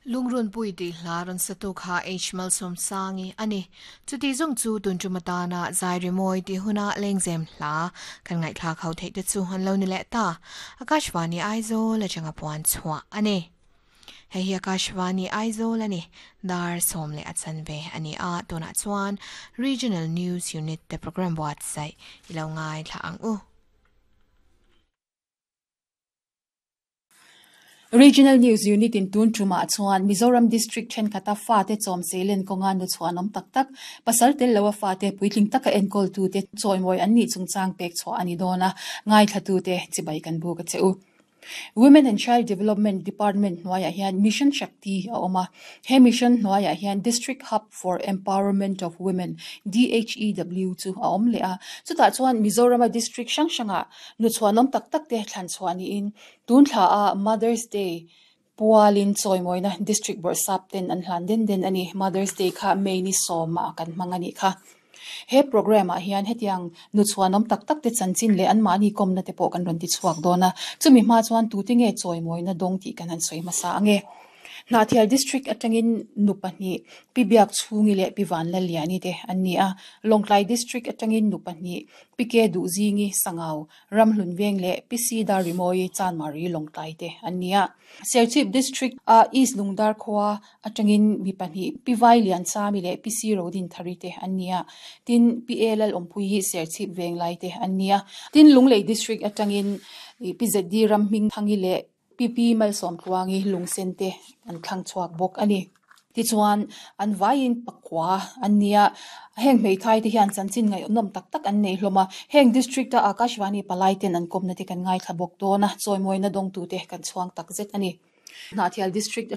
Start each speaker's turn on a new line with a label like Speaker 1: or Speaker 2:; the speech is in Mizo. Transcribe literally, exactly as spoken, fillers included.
Speaker 1: Lungrun pui ti hla ran satu kha H Malsom sangi ani chuti zong chu tun chumatana zai moi ti huna lengzem hla kan ngai thla khau thei te chu han lo ni le ta Akashvani Aizawl la changa puan chhuwa ani hei hi Akashvani Aizawl ani dar som le achan ve ani a tuna chuan Regional News Unit te program website ilo ngai thla ang u.
Speaker 2: Regional News Unit in tun tuma chuan Mizoram District then khata fa te chom selen konga nu chuanom tak tak pasal tel lawa fa te puitling taka enkol tu te choimoi an ni chungchang pek chho ani dona ngai thatu te chibai kan bu ka cheu. Women and Child Development Department hnuaiah hian Mission Shakti a awm a, he mission hnuaiah hian District Hub for Empowerment of Women D H E W chu a awm leh a, chutah chuan Mizorama district hrang hrangah nu chhuanawm tak tak te thlan chhuah niin tun thla a Mother's Day pualin chawimawina district bawrhsap ten an hlan den den ani. Mother's Day kha May ni sawmah kan hmang ani kha. He program ah hian hetiang nu chhuanawm tak tak te chanchin leh an mahni kawmna te pawh kan rawn ti chhuak dawn a, chumi hma chuan tute nge chawimawina dawng tih kan han sawi hmasa ange. Hnahthial district atangin nu pahnih Pi Biak Chhungi leh Pi Van Lalliani te an ni a, Lawngtlai district atangin nu pahnih Pi Ke Duhzingi Sangau Ramhlun Veng leh Pi Si Darrimawi Chanmari Lawngtlai te an ni a, Serchhip district a East Lungdar khua atangin mi pahnih Pi Vai Lian Chami leh Pi Si Rodin Thari te an ni a, tin Pi E Lal Awmpui hi Serchhip Veng lai te an ni a, tin Lunglei district atangin Pi Z D Ramhming Thangi leh Pi Pi Malsawm Tluangi Lungsen te an thlang chhuak bawk ani. Tichuan an vaiin pakua an ni a, heng hmeithai te hian chanchin ngaihnawm tak tak an nei hlawm a, heng district a Akashvani palai ten an kawmna te kan ngai thla bawk dawn a, chawimawina dawngtu te kan chhuang tak zet ani. Hnahthial district